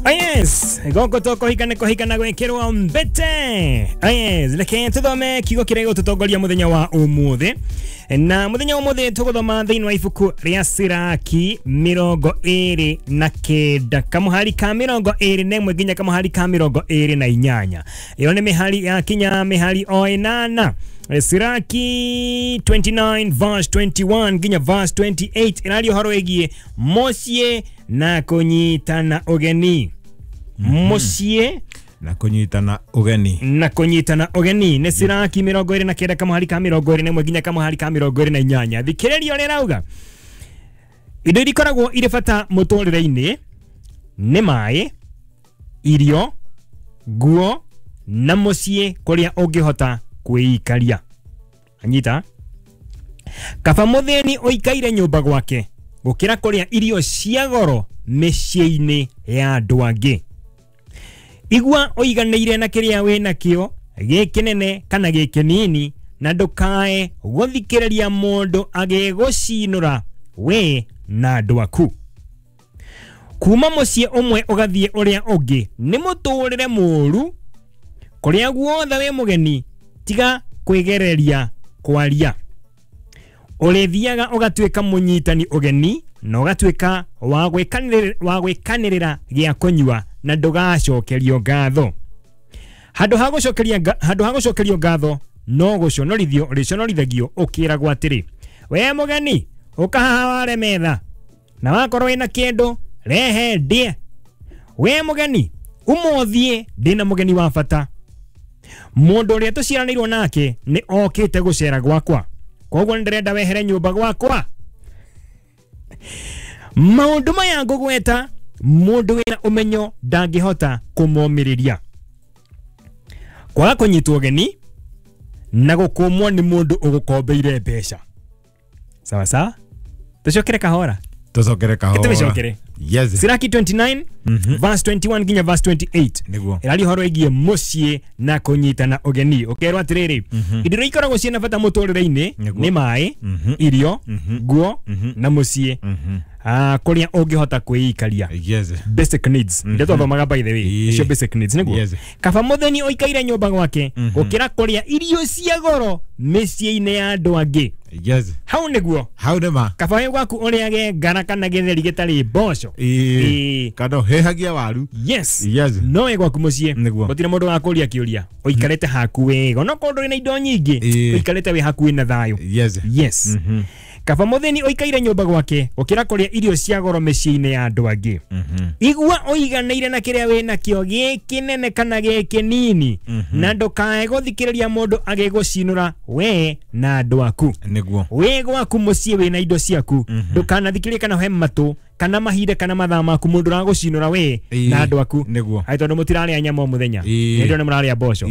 Yes, goko to kũhikana kũhikana gwĩkĩrwo mbete. Yes, reke tũthome kiugo kĩrĩa gĩgũtũtongoria mũthenya wa ũmũthĩ. Na mũthenya wa ũmũthĩ tũgũthoma thĩinĩ wa ibuku rĩa Siraki 29 kamũhari ka 21 nginya kamũhari ka 28. Ĩyo nĩ mĩhari ya kinya mĩhari o 8. Siraki 29 verse 21 nginya verse 28 ĩraria ũhoro wĩgiĩ mũciĩ na kũnyitana ũgeni. Mũciĩ na kũnyitana ũgeni. Na kũnyitana ũgeni nĩ Siraki 29 kamũhari ka 21 nginya kamũhari ka 28. Thikĩrĩria ũrĩa ĩrauga. Indo iria ikoragwo irĩ bata mũtũrĩre-inĩ nĩ maĩ, irio, nguo na mũciĩ kũrĩa ũngĩhota kwĩikaria. Anyita? Kaba mũthĩni ũikaire nyũmba gwake gũkĩra kũrĩa irio cia goro mĩciĩ-inĩ ya andũ angĩ. Igua ũiganĩire na kĩrĩa wĩ nakĩo gĩ kĩnene kana gĩ kĩnini, na ndũkae gũthikĩrĩria mũndũ agĩgũcinũra we na andũ aku. Kuma mũciĩ ũmwe ũgathiĩ ũrĩa ũngĩ nĩ mũtũrĩre mũũru. Kũrĩa guothe wĩ mũgeni tiga kwĩgereria kwaria. Ũrĩthiaga ũgatuĩka mũnyitani ũgeni na ũgatuĩka wa gwĩkanĩrĩra gĩa kũnyua na ndũgacokerio ngatho. Handũ ha gũcokerio ngatho no gũconorithio ũrĩconorithagio ũkĩragwo atĩrĩ, we mũgeni ũka haha ware metha, na wakorwo wĩna kĩndũ rehe ndĩe. We mũgeni ũmũthiĩ ndĩna mũgeni wa bata. Mũndũ ũrĩa tũciaranĩirwo nake nĩ okĩte gũcera gwakwa, koguo nĩ ndĩrenda wehere nyũmba gwakwa. Maũndũ maya ngũgweta mũndũ wĩna ũmenyo ndangĩhota kũmomĩrĩria. Kwaga kũnyitwo ũgeni na gũkũmwo nĩ mũndũ ũgũkombeire mbeca. Sawa sawa? Tũcokere kahora. Tũcokere kahora. Tũcokere. Yes. Siraki 29 verse 21 nginya verse 28. Nĩguo. Ĩraria ũhoro wĩgiĩ mũciĩ na kũnyitana ũgeni. Ũkerwo atĩrĩrĩ, indo iria ikoragwo ciĩna bata mũtũrĩre-inĩ nĩ maĩ, irio, nguo na mũciĩ. Kũrĩa ũngĩhota kwĩikaria. Yes. Basic needs. Iria twathomaga by the way. Nĩcio basic needs nĩguo. Yes. Kaba mũthĩni ũikaire nyũmba gwake gũkĩra kũrĩa irio cia goro mĩciĩ-inĩ ya andũ angĩ. Yes. Hau nĩguo. Hau nĩ ma. Kaba wĩ gwaku ũrĩage ngara kana gĩtheri gĩtarĩ mboco. Kana ũhĩhagia waru. Yes. Yes. No wĩ gwaku mũciĩ. Nĩguo. Gũtirĩ mũndũ wakũria kĩũria. Ũikarĩte haku wega. Onokorwo ndũrĩ na indo nyingĩ, ũikarĩte wĩ hakuhĩ na thayũ. Yes. Yes. Kaba mũthĩni ũikaire nyũmba gwake gũkĩra kũrĩa irio cia goro mĩciĩ-inĩ ya andũ angĩ. Igua ũiganĩire na kĩrĩa wĩ nakĩo gĩ kĩnene kana gĩ kĩnini, na ndũkae gũthikĩrĩria mũndũ agĩgũcinũra we na andũ aku. Nĩguo. Wĩ gwaku mũciĩ wĩna indo ciaku, ndũkanathikĩrĩrie kana ũhe matũ kana mahinda kana mathaa maku mũndũ ũragũcinũra we na andũ aku. Nĩguo. Aĩ tondũ mũtirarĩa nyama o mũthenya. Nĩ ndĩrona mũrarĩa mboco.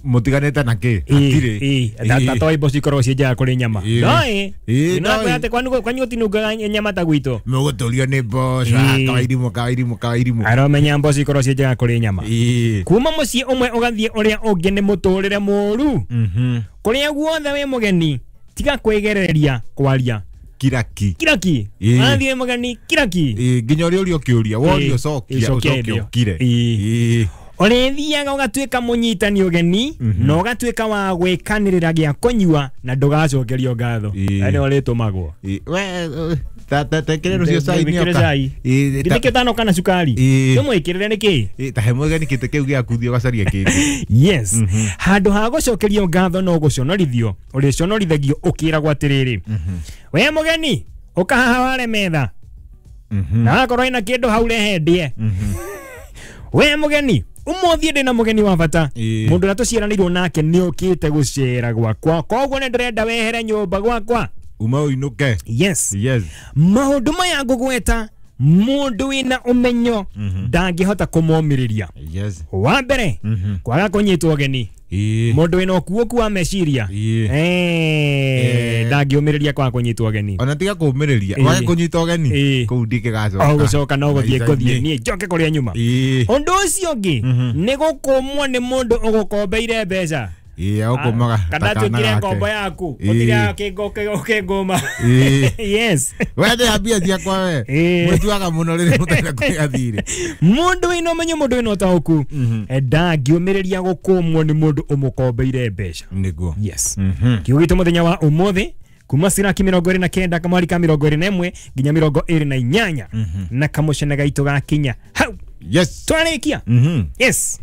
Mũtiganĩte na kĩ? Hatirĩ. Ta toĩ mboco ikoragwo ciĩ njega kũrĩ nyama. Ndoĩ. Nĩ atĩ kwanyu gũtinungaga nyama ta gwitũ. Mũgũtũrio nĩ mboco. Kawairimũ, kawairimũ, kawairimũ. Aromenya mboco ikoragwo ciĩ njega kũrĩ nyama. Kuma mũciĩ ũmwe ũgathiĩ ũrĩa ũngĩ nĩ mũtũrĩre mũũru. Kũrĩa guothe wĩ mũgeni tiga kwĩgereria kwaria. Kiraki. Kiraki. Athiĩ mũgeni kiraki. Nginya ũrĩa ũrĩa ũkĩũria, woria ũcokia, ũcoke ũkire. Ũrĩthiaga ũgatuĩka mũnyitani ũgeni na ũgatuĩka wa gwĩkanĩrĩra gĩa kũnyua na ndũgacokerio ngatho. Nĩ ũrĩtũmagwo. Tekĩre rũciũ cai nĩoka. Githĩ ũtanoka na cukari. Tũmwĩkĩrĩre nĩkĩ? Ta he mũgeni kĩtĩ kĩu gĩaku thiĩ ũgacarie kĩngĩ. Yes. Handũ ha gũcokerio ngatho no gũconorithio, ũrĩconorithagio ũkĩragwo atĩrĩrĩ, we mũgeni ũka haha ware metha, na wakorwo wĩna kĩndũ hau rehe ndĩe. We mũgeni ũmũthĩ ndĩna mũgeni wa bata. Mũndũ ũrĩa tũciaranĩirwo nake nĩ okĩte gũcera gwakwa, koguo nĩ ndĩrenda wehere nyũmba gwakwa. Uma ũinũke. Yes. Yes. Maũndũ maya ngũgweta mũndũ wĩna ũmenyo ndangĩhota kũmomĩrĩria. Yes. Wa mbere, kwaga kũnyitwo ũgeni. Mũndũ wĩna ũkuũku wa meciria ndangĩũmĩrĩria kwaga kũnyitwo ũgeni. Ona tiga kũũmĩrĩria, wage kũnyitwo ũgeni kũu ndingĩgacoka. O gũcoka no gũthiĩ ngũthiĩ niĩ njoke kũrĩa nyuma. Ũndũ ũcio ũngĩ nĩ gũkũmwo nĩ mũndũ ũgũkombeire mbeca. Ĩĩ, agũkũmaga kana ta kana atuĩkire gake. ngombo yaku. Ĩĩ. Ũtire ũkĩngũma. Ĩĩ. Yes. We ndĩha mbia ciakwa we. Ĩĩ. Mwĩtuaga mũno rĩrĩa mũtarĩ kũrĩha thirĩ. Mũndũ wĩna ũmenyo, mũndũ wĩna ũtaũku ndangĩũmĩrĩria gũkũmwo nĩ mũndũ ũmũkombeire mbeca. Nĩguo. Yes. Kiugo gitũ mũthenya wa ũmũthĩ kuma Siraki 29 kamwari ka 21 nginya 28 na kamũcene gaitũ gakinya hau. Yes. Twarĩkia. Yes.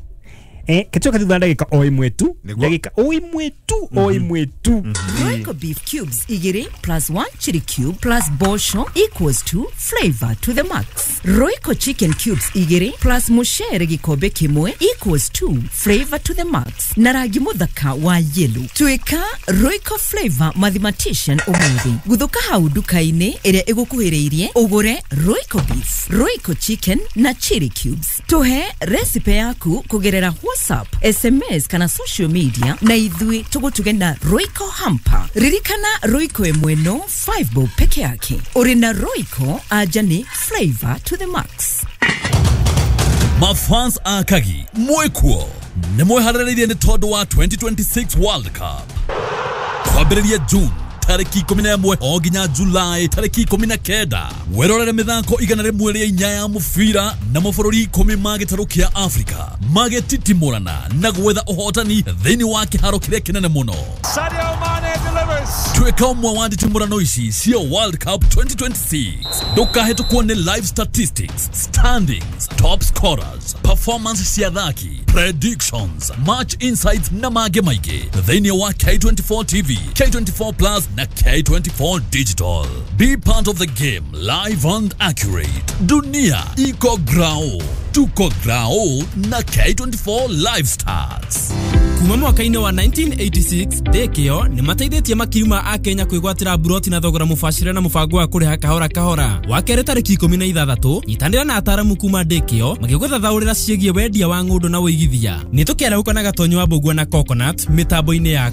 Kĩtuĩka thutha wa ndagĩka o ĩmwe tu. Nĩguo. Ndagĩka o ĩmwe tu, o ĩmwe tu. Royco beef cubes igiri plus 1 chili cube plus bosho equals to flavor to the max. Royco chicken cubes igiri plus mushere gikombe kimwe equals to flavor to the max. Na rangi muthaka wa yellow. Tuika Royco flavor mathematician umuthi. Guthuka hau nduka-inĩ ĩrĩa ĩgũkuhĩrĩirie ũgũre Royco beef, Royco chicken na chili cubes. Tuhe recipe yaku kũgerera WhatsApp, SMS kana social media na ithuĩ tũgũtuge na Royco hamper. Ririkana Royco ĩmwe no 5 bob peke yake. Ũrĩ na Royco anja nĩ flavor to the max. Mafans a Kagi mwĩkuo nĩ mwĩharĩrĩirie nĩ tondũ wa 2026 World Cup kwambĩrĩria June tarĩki 11 o nginya Julai tarĩki 19. Werorere mĩthako 104 ya mũbira na mabũrũri 10 ma gĩtarũ kĩa Afrika magĩtitimũrana na gwetha ũhotani thĩinĩ wa kĩharo kĩrĩa kĩnene mũno. Sadio Mane delivers. Tuĩka ũmwe wa nditimũrano ici cia World Cup 2026. Ndũkahĩtũkwo nĩ live statistics, standings, top scorers, performance cia athaki, predictions, match insights na mangĩ maingĩ thĩinĩ wa K24 TV, K24 Plus na K24 Digital. Be part of the game live and accurate. Dunia iko grao, tuko grao na K24 Live Stars. Kuma mwaka-inĩ wa 1986 ndĩkĩo nĩ mateithĩtie makiri ma akenya kwĩgwatĩra mburoti na thogora mũbacĩre na mũbango wa kũrĩha kahora kahora. Wa kerĩ tarĩki 16 nyitanĩra na ataramu kuma ndĩkĩo magĩgũthathaũrĩra ciĩgiĩ wendia wa ng'ũndũ na ũigithia. Nĩ tũkĩarahũka na Gatonyo wa Mbũgua na Coconut mĩtambo-inĩ ya